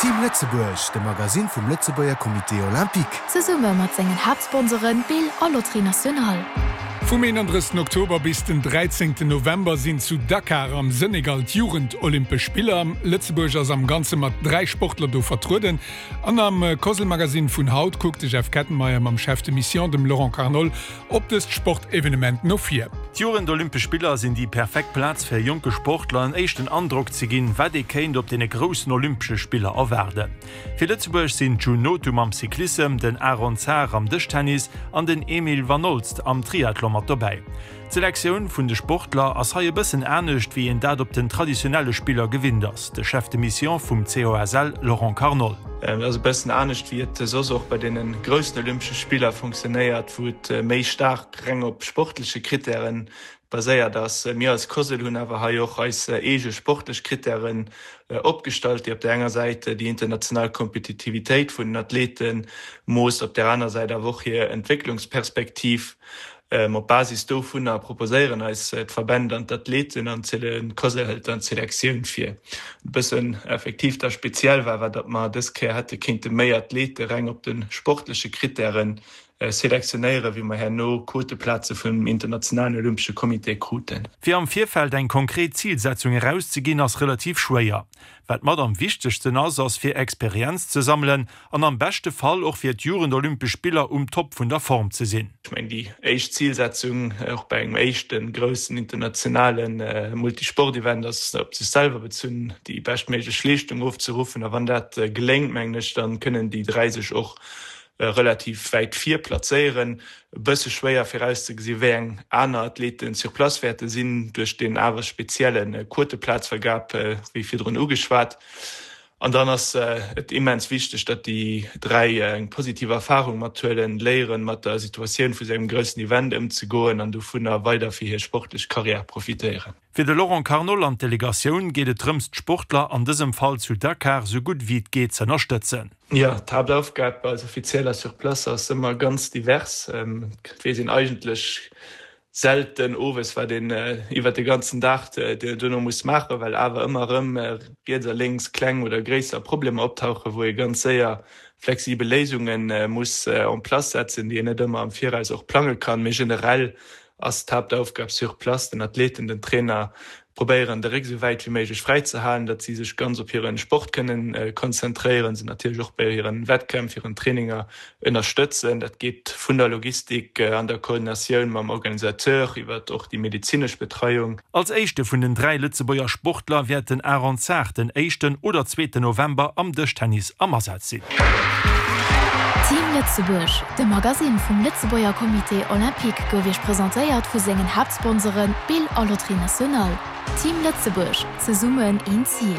Team Lëtzebuerg, de Magasinn vum Lëtzebuerger Comité Olympique. Zesumme mat sengen Haaptsponsoren Bill a Loterie Nationale. Vum 31 Oktober bis den 13 November sinn zu Dakar am Senegal d'Jugend-Olympesch Spiller. Lëtzebuerg ass am Ganze mat 3 Sportler do vertrueden. An am Cosl-Magazine vun haut kuckt de Jeff Kettenmeyer mam Chef de Mission, dem Laurent Carnol, op dëst Sportevenement no vir. D'Jugend-Olympesch Spiller sinn déi perfekt Plaz fir jonke Sportler en éischten Androck ze ginn, wat ee kéint op deene groussen Olympesche Spiller erwaarden. Fir Lëtzebuerg sinn d'June Nothum am Cyclissem, den Aaron Sahr am Dëschtennis an den Emile Vanolst am Triathlon mat dobäi. D'Selektioun vun de Sportler ass hei e bëssen anescht, wéi een dat op den traditionelle Spiller gewinnt ass, de Chef de Mission vum COSL Laurent Carnol. Et ass e bëssen anescht, wéi et soss och bei deene groussen Olympesche Spiller funktionéiert, wou et méi staark reng op sportleche Krittäre baséiert ass. Mir als COSL hunn awer hei och eis eege sportlech Krittären opgestallt, déi op där enger Säit déi international Kompetitivitéit vun den Athlete moosst, op där aner Säit awer och hir Entwécklungsperspektiv. Op Basis dovunner proposéieren eis d'Verbänn dann d'Athleten an d'COSL hëlt dann d'Selektioun vir. E bëssen effektiv da speziell war, war datt mer dës Kéier hätte kéinte méi Athlete reng op de sportleche Krittäre selektionéieren, wéi mer herno Quoteplaze vum Internationalen Olympesche Comité kruten. Fir am Virfeld eng konkret Zilsetzung erauszeginn, ass relativ schwéier. Wat mat am wichtegsten ass, ass fir Experienz ze sammelen an am beschte Fall och fir d'Jugend-Olympesch Spiller um Top vun der Form ze sinn. Ech mengen, déi éischt Zilsetzung, och bei engem éischte groussen internationale Multisport-Event, ass op sech selwer bezunn, déi beschtméiglech Leeschtung ofzeruffen. A wann dat geléngt, mengen ech, da kënnen déi 3 sech och relativ wäit vir plazéieren. E bësse schwéier virauszegesinn, wéi eng aner Athleten sur place wäerte sinn, duerch deen awer spezielle Quoteplazvergab, wéi virdrun ugeschwat. An dann ass et immens wichteg, datt déi 3 eng positiv Erfarung mathuelen, léieren, mat der Situatioun vu sou engem groussen Event ëmzegoen an dovunner weider fir hir sportlech Karriär profitéieren. Fir de Laurent Carnol an d'Delegatioun geet et drëms d'Sportler, an dësem Fall zu Dakar, sou gutt wéi et geet z'ënnerstëtzen. Jo, d'Haaptaufgab als Offizieller sur place ass ëmmer ganz divers. Et weess een eigentlech selten owes, wat een iwwert de ganzen Dag duerno muss maachen, well awer ëmmer erëm riets a lénks kleng oder gréisser Problemer optauchen, wou ee ganz séier flexibel Léisunge muss en place setzen, déi een net ëmmer am Viraus och plange kann. Mee generell ass d'Haaptaufgab sur place, den Athleten, den Trainer probéieren de Réck esou wäit wéi méiglech fräi ze halen, datt si sech ganz op hiren Sport kënnen konzentréieren, se natierlech och bei hiren Wettkämpf, hiren Traininger ënnerstëtzen. Dat geet vun der Logistik an der Koordinatioun mam Organisateur iwwert och déi medezinesch Betreiung. Als éischte vun den 3 Lëtzebuerger Sportler wäert den Aaron Sahr den éischten oder zweeten November am Dëschtennis am Asaz sinn. Team Lëtzebuerg, de Magasinn vum Lëtzebuerger Comité Olympique gouf Iech presentéiert vu sengen Haaptsponsoren Bill a Loterie Nationale. Team Lëtzebuerg, zesummen een Zil.